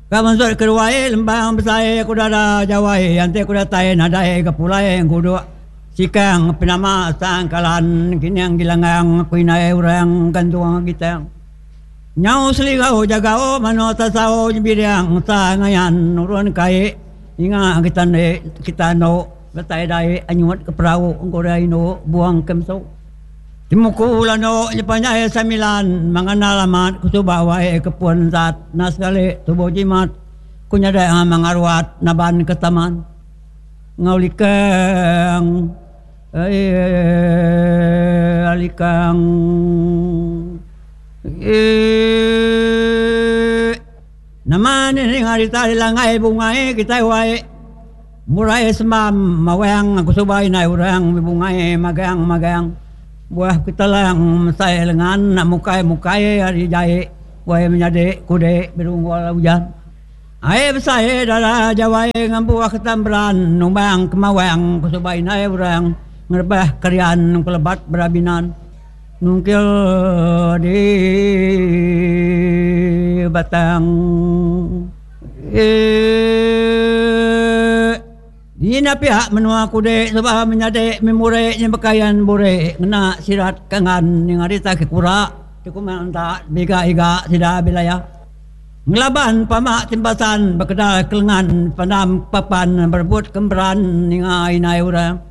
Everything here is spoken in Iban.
Ka mansut ke ruai lembang besai ku dada jawai enti ku datai nadai ga pulai nguduk sikang penama sangkalan kining gilanggang ku indai orang gantung gitang. Nyau seligau jagau manuk tasau nyebidang sa ngayan nurun kai ninga kita ende kita endo datai dai anyut ke perau engkurai indu buang ke mesu. Temuku landu nyepanjai samilan mengandal amat ku suba wai ke pun zat enda sekali tubuh jimat ku nyadai amang aruat naban ke taman enggau likang eii likang eii nama nih ninga rita dilangai bungai kitai wai Murai sembam mawang aku suba indai orang bebungai magang magang buah ketelang mesai lengan nak mukai mukai ari jai wai menyadi kudi berunggul ujan. Ai besai dara jawai ngambu ketamberan numbang kemawang ku suba indai orang ngerebah kerian kelebat berabinan nungkil di batang. Eeeeee. Dina pia menua kude suba menyadi memure nyebekayan bure ngena sirat kangan ninga rita ke kura ti kuma enta biga iga sida bilaya. Ngelaban pama timbasan bekedal kelengan pandam papan berebut kemberan ninga inai orang.